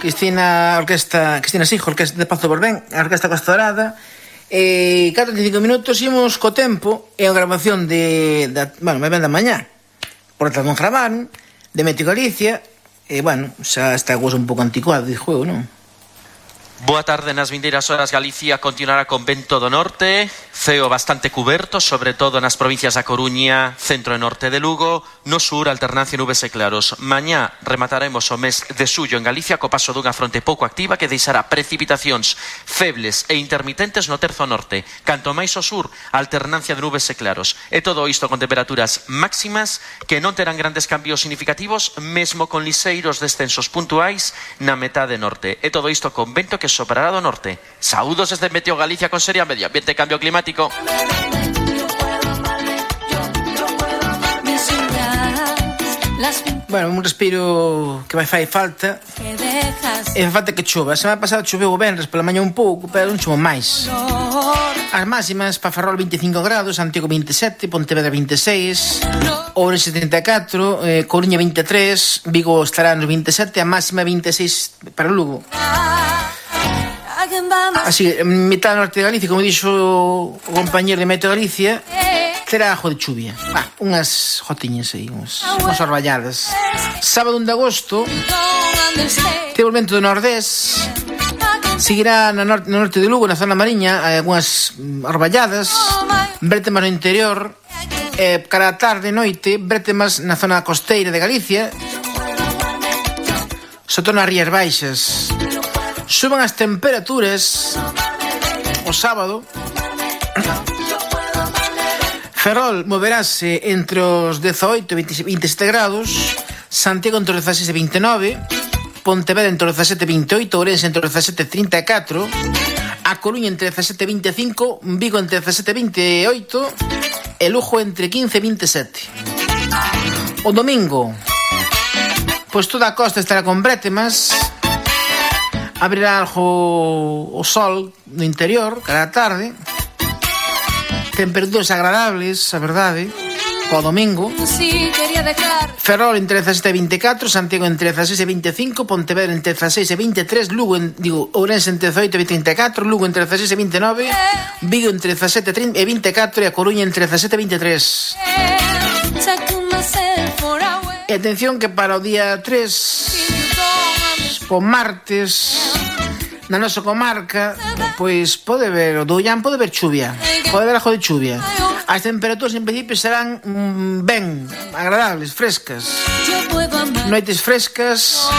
Cristina Sijo, Orquesta de Pazo Borbén, a Orquesta Costa Dorada. 45 minutos imos co tempo e a grabación me ven da mañá. Por tanto, non gravaron, de Meteo Galicia, xa está a cousa un pouco anticuado de juego, non? Boa tarde. Nas vindeiras horas Galicia continuará con vento do norte, ceo bastante cuberto, sobre todo nas provincias da Coruña, centro e norte de Lugo, no sur alternancia nubes e claros. Mañá remataremos o mes de xullo en Galicia co paso dunha fronte pouco activa que deixará precipitacións febles e intermitentes no terzo norte. Canto máis ao sur, alternancia de nubes e claros. E todo isto con temperaturas máximas que non terán grandes cambios significativos, mesmo con liseiros descensos puntuais na metade norte. E todo isto con vento que soprará do norte. Saúdos desde Meteo Galicia con Seria Medio Ambiente e Cambio Climático. Un respiro que vai fai falta. E fai falta que chova. A semana pasada choveu o venres pola mañá un pouco, pero non choveu máis. As máximas para Ferrol 25 grados, Santiago 27, Pontevedra 26, Ourense 74, Coruña 23, Vigo estará nos 27, a máxima 26 para Lugo. Así, mitad norte de Galicia, como dixo o compañero de Meteo Galicia, terá ajo de chuvia. Unhas jotiñas aí, unhas orballadas. Sábado 1 de agosto, temos vento do nordés, seguirá no norte de Lugo, na zona mariña, algunhas orballadas, bretemas no interior, cara a tarde e noite, bretemas na zona costeira de Galicia, sobre todo nas rías baixas. Suban as temperaturas o sábado. Ferrol moverase entre os 18 e 27 grados, Santiago entre os 16 e 29, Pontevedra entre os 17 e 28, Ourense entre os 17 e 34, A Coruña entre 17 e 25, Vigo entre 17 e 28 e Lugo entre 15 e 27. O domingo, pois toda a costa estará con bretemas. Abrirá algo o sol no interior, cara a tarde. Temperaturas agradables, a verdade, o domingo. Ferrol entre 17 e 24, Santiago entre 16 e 25, Pontevedra entre 16 e 23, Ourense entre 18 e 34, Lugo entre 16 e 29, Vigo entre 17 e 24 e A Coruña entre 17 e 23. E atención que para o día 3, o martes, na nosa comarca, pois pode ver, o do Ollán pode ver chuvia, pode ver algo de chuvia. As temperaturas en principio serán ben agradables, frescas, noites frescas.